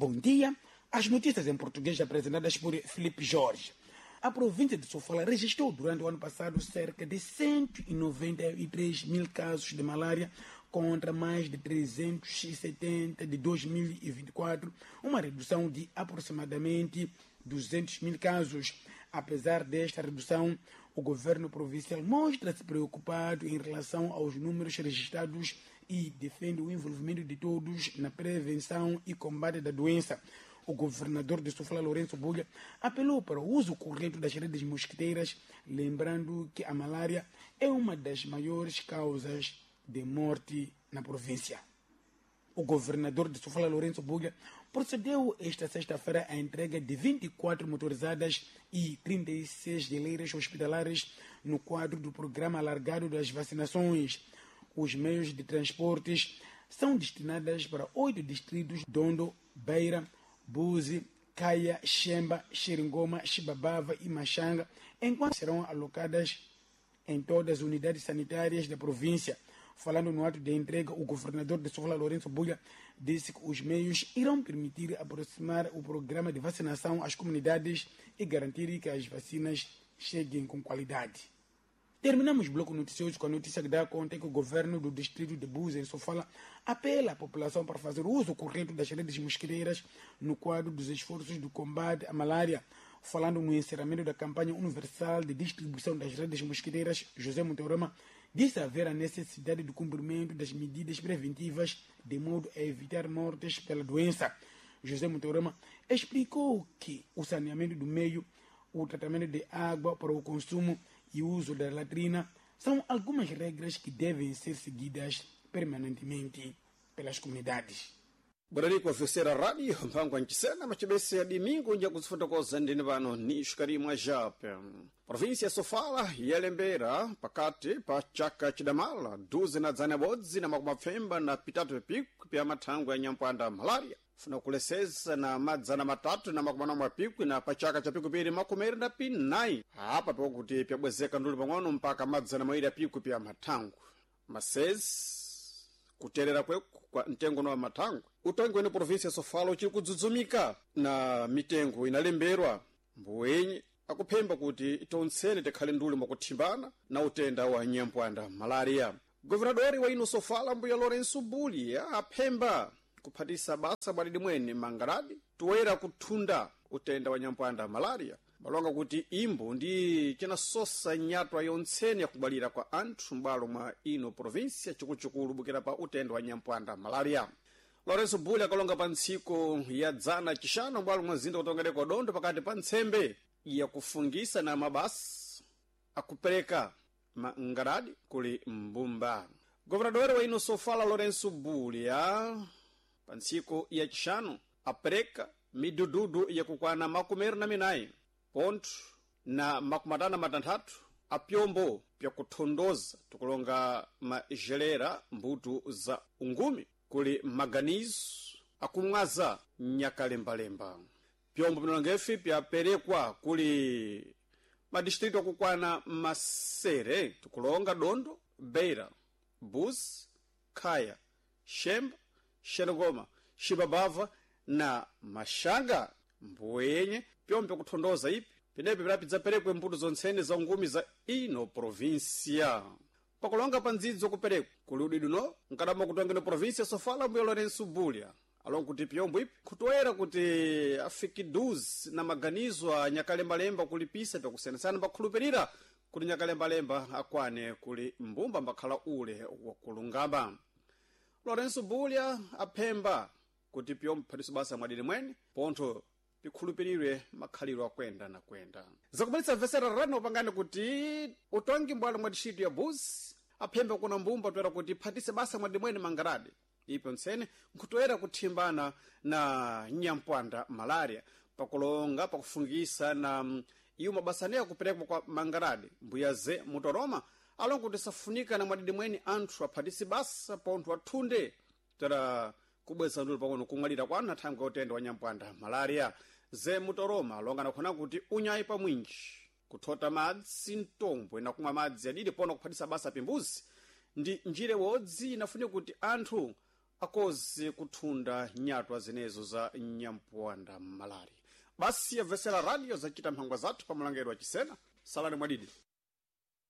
Bom dia. As notícias em português apresentadas por Felipe Jorge. A província de Sofala registrou durante o ano passado cerca de 193 mil casos de malária contra mais de 370 de 2024, uma redução de aproximadamente 200 mil casos. Apesar desta redução, o governo provincial mostra-se preocupado em relação aos números registrados e defende o envolvimento de todos na prevenção e combate da doença. O governador de Sofala, Lourenço Bulha, apelou para o uso correto das redes mosquiteiras, lembrando que a malária é uma das maiores causas de morte na província. O governador de Sofala, Lourenço Bulha, procedeu esta sexta-feira à entrega de 24 motorizadas e 36 geleiras hospitalares no quadro do programa alargado das vacinações. Os meios de transportes são destinados para 8 distritos: Dondo, Beira, Buzi, Caia, Xemba, Xeringoma, Xibabava e Machanga, enquanto serão alocadas em todas as unidades sanitárias da província. Falando no ato de entrega, o governador de Sofala, Lourenço Bulha, disse que os meios irão permitir aproximar o programa de vacinação às comunidades e garantir que as vacinas cheguem com qualidade. Terminamos o bloco noticioso com a notícia que dá conta que o governo do distrito de Buza, em Sofala, apela à população para fazer uso correto das redes mosquiteiras no quadro dos esforços do combate à malária. Falando no encerramento da campanha universal de distribuição das redes mosquiteiras, José Monteorama disse haver a necessidade do cumprimento das medidas preventivas de modo a evitar mortes pela doença. José Monteorama explicou que o saneamento do meio, o tratamento de água para o consumo e o uso da latrina são algumas regras que devem ser seguidas permanentemente pelas comunidades. Bwerani kuafesera radio mphango ancisena macibese ya domingo nja kuzifotokoza ndine pano ni xikarimwa jape. Província ya Sofala yalembera pakati pa chaka cidamala duze na dzana bodzi na makumi apfemba na pitatu pipiku pya mathangwe ya nyampwanda malaria, funa kuleseza na madzana matatu na makumi anamwe apikwi na pachaka cha pikupiri makumi eri na pinayi, apa pakuti pyabwezeka nduli pang'ono mpaka madzana mawiri apikwi pya mathangwe masezi kuterera kweku kwa mtengo wa mathangwe. Utongi wene província ya Sofala uchili kudzudzumika na mitengo inalemberwa mbuwenyi akuphemba kuti tontsene tikhale nduli mwakuthimbana na utenda wa nyampwanda malaria. Governadori wa ino Sofala, mbuya Lourenço Bulha, aphemba kuphatisa basa bwadidi mwene mangaladi toera kuthunda utenda wa nyampwanda malaria, malonga kuti imbo ndi cinasosa nyatwa yontsene yakubwalira kwa anthu m'bwalo mwa ino província, chikuchikulu bukira pa utenda wa nyampwanda malaria. Lourenço Bulha akalonga pa ntsiko ya dzana chixano m'bwalo mwa mzinda kutongereko Dondo, pakati pa ntsembe yakufungisa na mabasa akupereka mangaladi kuli mbumba. Governadori wa ino Sofala, Lourenço Bulha, pa ntsiko ya chixano apereka midududu yakukwana makumi eri na minayi pontho na makumi atanu na matanthatu apyombo pyakuthondoza, tikulonga majelera mbuto za ungumi kuli maganizo akumwaza nyakalembalemba. Pyombo pinalongefi pyaperekwa kuli madistritu akukwana masere, tikulonga Dondo, Beira, Buzi, Khaya, Xemba, Xerengoma, Xibabava na Maxanga. Mbuyenye pyombo pyakuthondoza ipi pinepi pilapidzaperekwe mbuto zontsene za ungumi za ino província. Pakulonga pa ndzidzo kuperekwa kuli udiduno mkadama kutongeno província Sofala, mbuya Lourenço Bulha alonga kuti pyombo ipi khutoera kuti afiki duzi na maganizo a nyakalembalemba kulipisa pyakusiyanasiyana, mbakhulupirira kuti nyakalembalemba akwane kuli mbumba mbakhala ule wakulungama. Lourenço Bulha aphemba kuti pyombo phatiso basa mwadidi mwene pontho pikhulupirirwe makhaliro akwenda na kwenda. Zakumalisa vesera rano pangani kuti utongi mbwalo mwa distritu ya Buzi aphemba kuna mbumba toera kuti phatise basa mwadimwene mangaradi ipo ntsene nkutoera kuthimbana na nyampwanda malaria pakulonga pakufungisa na iwo mabasa aneyo akuperekwa kwa mangaradi. Mbuya ze mutoroma alonga kuti safunika na mwadidi mwene anthu aphatise basa pontho athunde toera kubweza ndulu pang'ono kumwalira kwanu na thangwe utenda wa nyampwanda malaria. Ze mutoroma alonga nakhona kuti unyayi pamwinji kuthota madzi mtombwe na kumwa madzi adidi pona kuphatisa basa pimbuzi ndi njire wodzi inafunika kuti anthu Akoze kuthunda nyatwa zenezo za nyampuwanda malaria. Basi yabvesera radio zacita mphangwa zathu pa mulangero wa Chisena. Salani mwadidi.